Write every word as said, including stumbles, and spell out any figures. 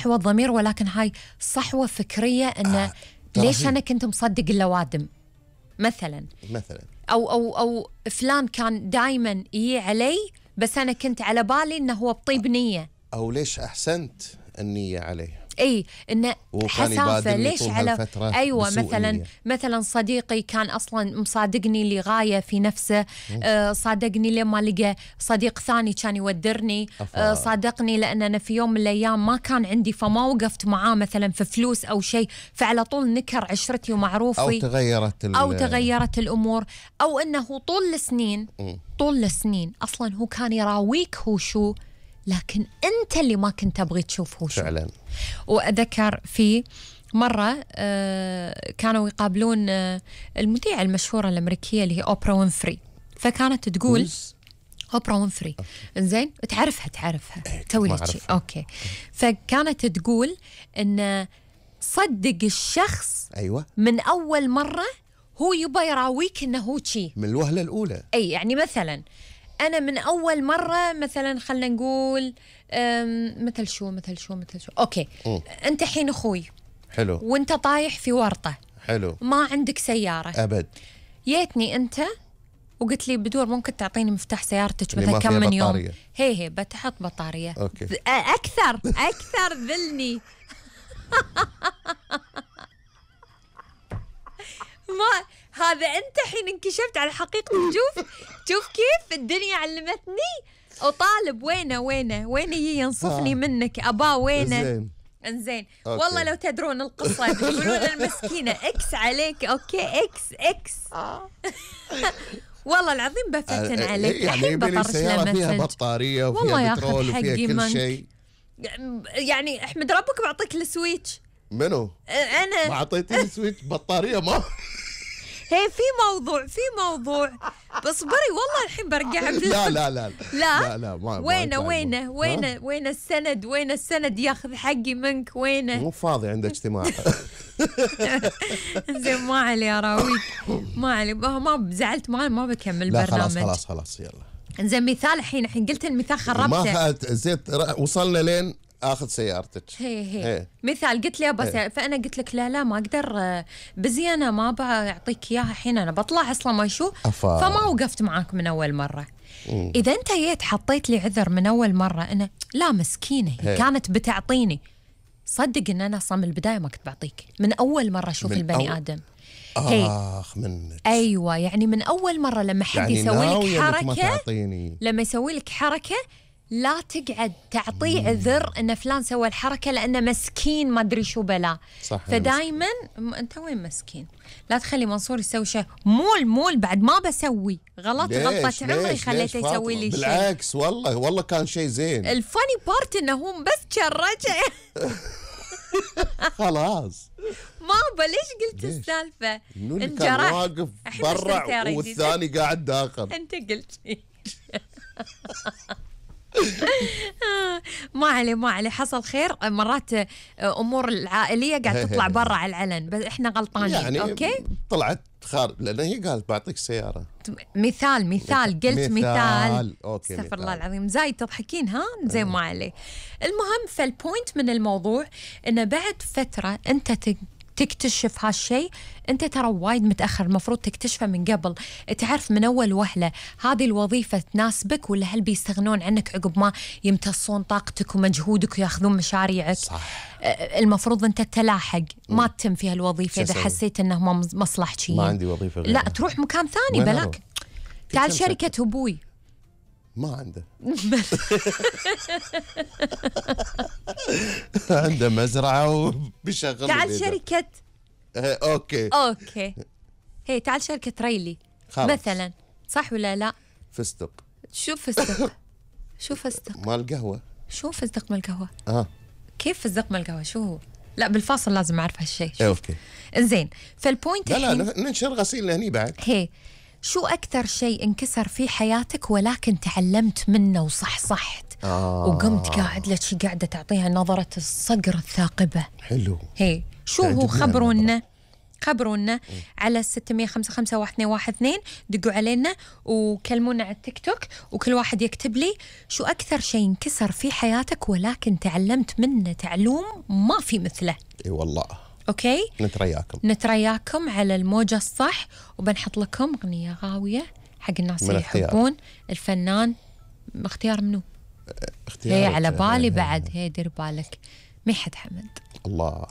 صحوة ضمير، ولكن هاي صحوة فكرية إنه آه. ليش أنا كنت مصدق اللوادم مثلا مثلا أو أو أو فلان كان دايما يجي علي بس أنا كنت على بالي إنه هو بطيب نية، أو ليش أحسنت النية عليه، اي انه حسافه ليش على ايوه مثلا النية. مثلا صديقي كان اصلا مصادقني لغايه في نفسه، آه صادقني لما لقى صديق ثاني كان يودرني، آه صادقني لان انا في يوم من الايام ما كان عندي فما وقفت معاه مثلا في فلوس او شيء، فعلى طول نكر عشرتي ومعروفي او تغيرت او تغيرت الامور، او انه طول السنين طول السنين اصلا هو كان يراويك هو شو، لكن أنت اللي ما كنت تبغي تشوفه شو. فعلا. وأذكر في مرة آه كانوا يقابلون آه المذيعة المشهورة الأمريكية اللي هي أوبرا وينفري، فكانت تقول أوبرا وينفري إنزين تعرفها تعرفها توي أوكي، فكانت تقول إن صدق الشخص أيوة من أول مرة هو يبغى يراويك إنه هو شي من الوهلة الأولى. أي يعني مثلا أنا من أول مرة مثلا خلنا نقول مثل شو مثل شو مثل شو أوكي م. أنت حين أخوي حلو وأنت طايح في ورطة حلو ما عندك سيارة أبد، جيتني أنت وقلت لي بدور ممكن تعطيني مفتاح سيارتك مثلا كم من يوم، هي هي بتحط بطارية أوكي. أكثر أكثر ذلني ما هذا أنت حين انكشفت على حقيقة. شوف شوف كيف الدنيا علمتني، وطالب وينه وينه وينه ينصفني منك أبا وينه. انزين والله لو تدرون القصة يقولون المسكينة اكس عليك اوكي اكس اكس والله العظيم بفتن عليك. يعني بلي سيارة فيها بطارية وفيها بترول وفيها كل شيء، يعني احمد ربك بعطيك السويتش. منو؟ انا ما اعطيتني السويتش بطارية ما هي في موضوع في موضوع بس بري والله الحين برجع لا لا لا لا لا ما وينه وينه وينه وين السند وين السند ياخذ حقي منك وينه؟ مو فاضي عنده اجتماع. زين ما علي اراويك ما علي ما زعلت ما ما بكمل لا برنامج. خلاص خلاص خلاص يلا. زين مثال الحين الحين قلت المثال خربته. ما زيت وصلنا لين اخذ سيارتك. هي هي, هي. مثال قلت لي بس فانا قلت لك لا لا ما اقدر بزي انا ما بعطيك اياها الحين انا بطلع اصلا ما شو أفا. فما وقفت معاك من اول مره. مم. اذا انت جيت حطيت لي عذر من اول مره انا لا مسكينه هي كانت بتعطيني، صدق ان انا اصلا من البدايه ما كنت بعطيك من اول مره اشوف البني أو... ادم. اخ منك ايوه يعني من اول مره لما حد يعني يسوي لك حركه لما يسوي لك حركه لا تقعد تعطيه عذر ان فلان سوى الحركه لانه مسكين ما ادري شو بلا. فدائما انت وين مسكين، لا تخلي منصور يسوي شيء مول مول بعد ما بسوي غلط غلطه عمري خليته يسوي لي شيء. بالعكس والله والله كان شيء زين. الفاني بارت انه هو بس شرجه خلاص ما ليش قلت السالفه انت كان واقف برا والثاني قاعد داخل. انت قلت ما علي ما علي حصل خير. مرات امور العائليه قاعد تطلع برا على العلن بس احنا غلطانين يعني اوكي طلعت خارج لان هي قالت بعطيك سياره. مثال مثال قلت مثال, مثال. اوكي استغفر الله العظيم زايد تضحكين ها زين ما علي. المهم فالبوينت من الموضوع انه بعد فتره انت تكتشف هالشيء انت ترى وايد متاخر، المفروض تكتشفه من قبل، تعرف من اول وهله هذه الوظيفه تناسبك ولا هل بيستغنون عنك عقب ما يمتصون طاقتك ومجهودك وياخذون مشاريعك. صح. المفروض انت تلاحق ما تتم فيها الوظيفه اذا حسيت انه ما مصلحتي. ما عندي وظيفه غيرها. لا تروح مكان ثاني بلاك تعال شركه ابوي ما عنده عنده مزرعة وبيشغل. تعال شركة اوكي اوكي هي تعال شركة ريلي خلاص. مثلا صح ولا لا؟ فستق. شو فستق؟ شو فستق؟ مال القهوة. شو فستق مال القهوة؟ اه كيف فستق مال القهوة شو هو؟ لا بالفاصل لازم اعرف هالشيء. اوكي انزين فالبوينت لا لا ننشر غسيل هني بعد. هي شو أكثر شيء انكسر في حياتك ولكن تعلمت منه وصحصحت آه. وقمت قاعد لك شي قاعدة تعطيها نظرة الصقر الثاقبة. حلو. هي شو هو خبرونا خبرونا على ستمية خمسة خمسة واحد اثنين واحد اثنين، دقوا علينا وكلمونا على التيك توك، وكل واحد يكتب لي شو أكثر شيء انكسر في حياتك ولكن تعلمت منه تعلوم ما في مثله. اي والله. اوكي، نترياكم نترياكم على الموجة الصح، وبنحط لكم أغنية غاوية حق الناس اللي يحبون الفنان. اختيار منو؟ هي على بالي بعد، هي دير بالك، مي حد حمد. الله.